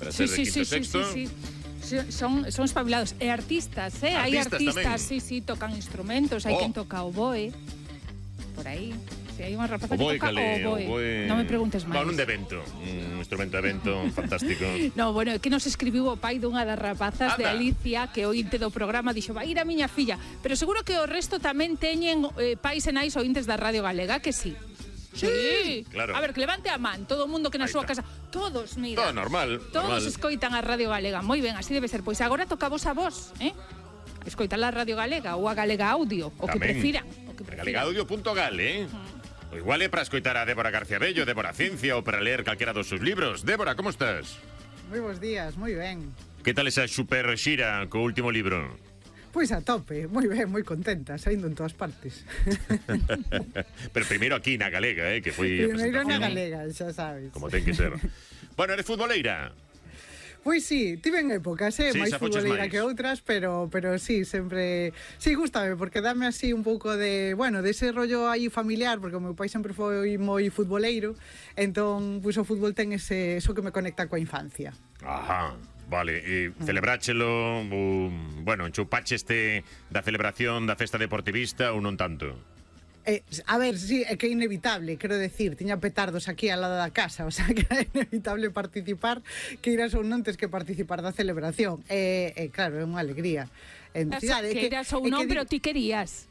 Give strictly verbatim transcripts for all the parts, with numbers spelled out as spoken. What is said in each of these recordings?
para ser sí, de quinto sí, sexto. Sí, sí, sí. Son, son espabilados. E artistas, eh? Hai Artistas artistas, tamén. sí, sí, tocan instrumentos. Hai Oh. quen toca o boe. Por aí. Si hai unha rapaza O boe, que toca cale, o boe. o boe... Non me preguntes máis. Va, nun de vento. Un instrumento de vento fantástico. No, bueno, é que nos escribiu o pai dunha das rapazas de Anda. Alicia, que ointe do programa dixo, vai ir a miña filla. Pero seguro que o resto tamén teñen eh, pais e nais ointes da Radio Galega, que sí. Sí, claro. A ver, que levante a man todo o mundo que na Ahí súa está. casa. Todos, mira. Todo normal. Todos normal. escoitan a Radio Galega. Moi ben, así debe ser. Pois agora tocavos a vos, eh? Escoitar a Radio Galega ou a Galega Audio, o que Tamén. prefiran. O que prefiran. Galegaudio punto gal, eh? O igual é para escoitar a Débora García Bello, Débora Ciencia, ou para ler calquera dos seus libros. Débora, como estás? Moi bons días, moi ben. Que tal esa super xira co último libro? Pois a tope, moi ben, moi contenta, saindo en todas partes. Pero primeiro aquí na Galega, eh, que foi a Primeiro na presentación. Galega, xa sabes. Como ten que ser. Bueno, eres futboleira. Pois sí, tiven épocas, eh, Sí, máis xa foches futboleira máis. que outras, pero pero sí, sempre sí, gústame porque dame así un pouco de, bueno, dese rollo aí familiar, porque o meu pai sempre foi moi futboleiro, entón, pois o fútbol ten ese eso que me conecta coa infancia. Ajá. Vale, e celebráchelo, um, bueno, enchupache este da celebración da festa deportivista ou non tanto? Eh, a ver, sí, é que é inevitable, quero decir, tiña petardos aquí ao lado da casa, o sea, que era inevitable participar, que iras ou non tes que participar da celebración. E, eh, eh, claro, é unha alegría. En, As, cidade, é que eras ou é non, di- pero ti querías.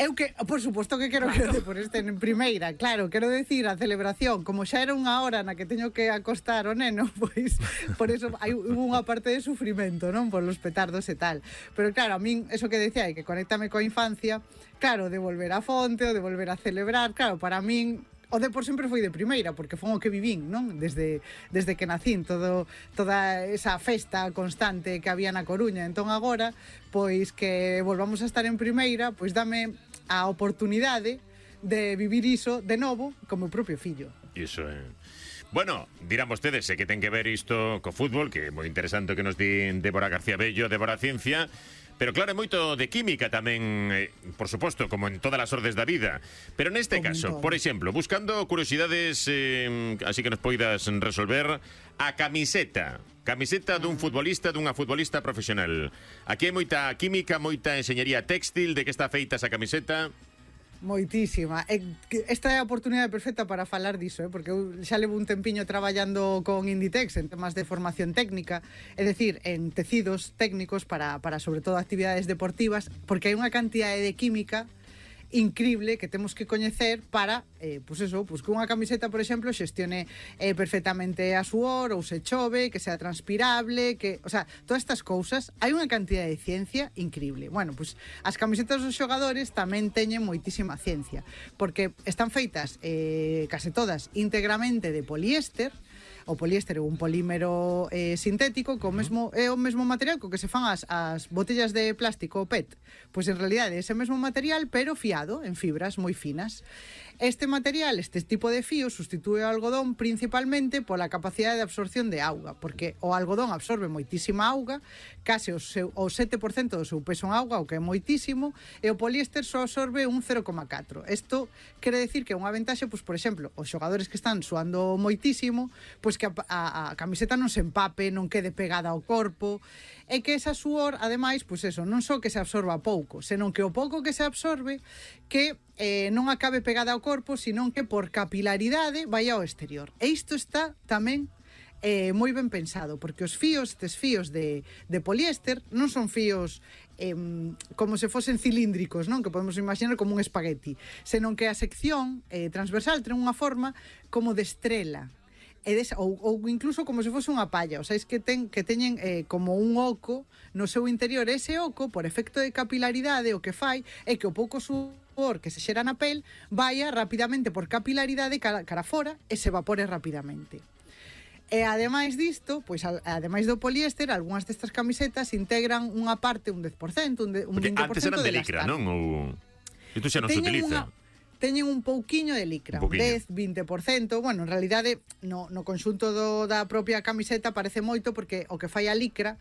Eu que, por suposto que quero que por este en primeira, claro, quero decir, a celebración, como xa era unha hora na que teño que acostar o neno, pois por eso hai hubo unha parte de sufrimento, non? Por los petardos e tal. Pero claro, a min, eso que decía, que conéctame coa infancia, claro, de volver á fonte, o de volver a celebrar, claro, para min o Depor sempre foi de primeira, porque foi o que vivín, non? Desde, desde que nacín, todo, toda esa festa constante que había na Coruña. Entón agora, pois que volvamos a estar en primeira, pois dame a oportunidade de vivir iso de novo con meu propio fillo. Iso é. Bueno, dirán vostedes, sei que ten que ver isto co fútbol, que é moi interesante o que nos di Débora García Bello, Débora Ciencia, pero claro, é moito de química tamén, eh, por suposto, como en todas as ordes da vida. Pero neste Como en caso, todo. por exemplo, buscando curiosidades, eh, así que nos poidas resolver, a camiseta. Camiseta dun futbolista, dunha futbolista profesional. Aquí hai moita química, moita enxeñería téxtil, de que está feita esa camiseta. Moitísima. E que esta é a oportunidade perfecta para falar diso, eh? Porque eu xa levo un tempiño traballando con Inditex en temas de formación técnica, é dicir, en tecidos técnicos para, para sobre todo actividades deportivas, porque hai unha cantidade de química increíble que temos que coñecer para, eh, pues eso, pues que unha camiseta, por exemplo, xestione eh, perfectamente a suor ou se chove, que sea transpirable, que, o sea, todas estas cousas, hai unha cantidad de ciencia increíble. Bueno, pues as camisetas dos xogadores tamén teñen moitísima ciencia, porque están feitas eh, case todas íntegramente de poliéster. O poliéster é un polímero eh, sintético co mesmo, é o mesmo material co que se fan as, as botellas de plástico, o P E T. Pois en realidade é ese mesmo material, pero fiado en fibras moi finas. Este material, este tipo de fío, sustitúe o algodón principalmente pola capacidade de absorción de auga, porque o algodón absorbe moitísima auga, case o, seu, o sete por cento do seu peso en auga, o que é moitísimo, e o poliéster só absorbe un cero coma catro. Isto quere decir que é unha ventaxe, pois, por exemplo, os xogadores que están suando moitísimo, pois que a, a, a camiseta non se empape, non quede pegada ao corpo, e que esa suor, ademais, pois eso, non só que se absorba pouco, senón que o pouco que se absorbe, que eh, non acabe pegada ao corpo, senón que por capilaridade vai ao exterior. E isto está tamén eh, moi ben pensado, porque os fíos, estes fíos de, de poliéster, non son fíos eh, como se fosen cilíndricos, non? Que podemos imaginar como un espagueti, senón que a sección eh, transversal ten unha forma como de estrela, e des, ou, ou incluso como se fose unha palla, o sea, es que ten que teñen eh, como un oco no seu interior. Ese oco, por efecto de capilaridade, o que fai é que o pouco suor que se xera na pel vaya rapidamente por capilaridade cara, cara fora e se evapore rapidamente. E ademais disto, pois ademais do poliéster, algunhas destas camisetas integran unha parte, un dez por cento, un, de, un vinte por cento Antes eran de de licra, elastano. non? Ou... Isto xa non se Teñen utiliza. Unha... teñen un pouquiño de licra, Un pouquiño. dez, vinte por cento. Bueno, en realidade no, no conxunto do, da propia camiseta parece moito, porque o que fai a licra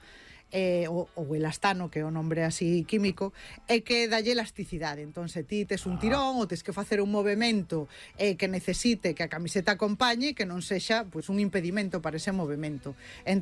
eh, o, o elastano, que é o nombre así químico, é que dalle elasticidade. Entón, se ti tes un tirón ou tes que facer un movemento eh, que necesite que a camiseta acompañe, que non sexa pues, un impedimento para ese movemento.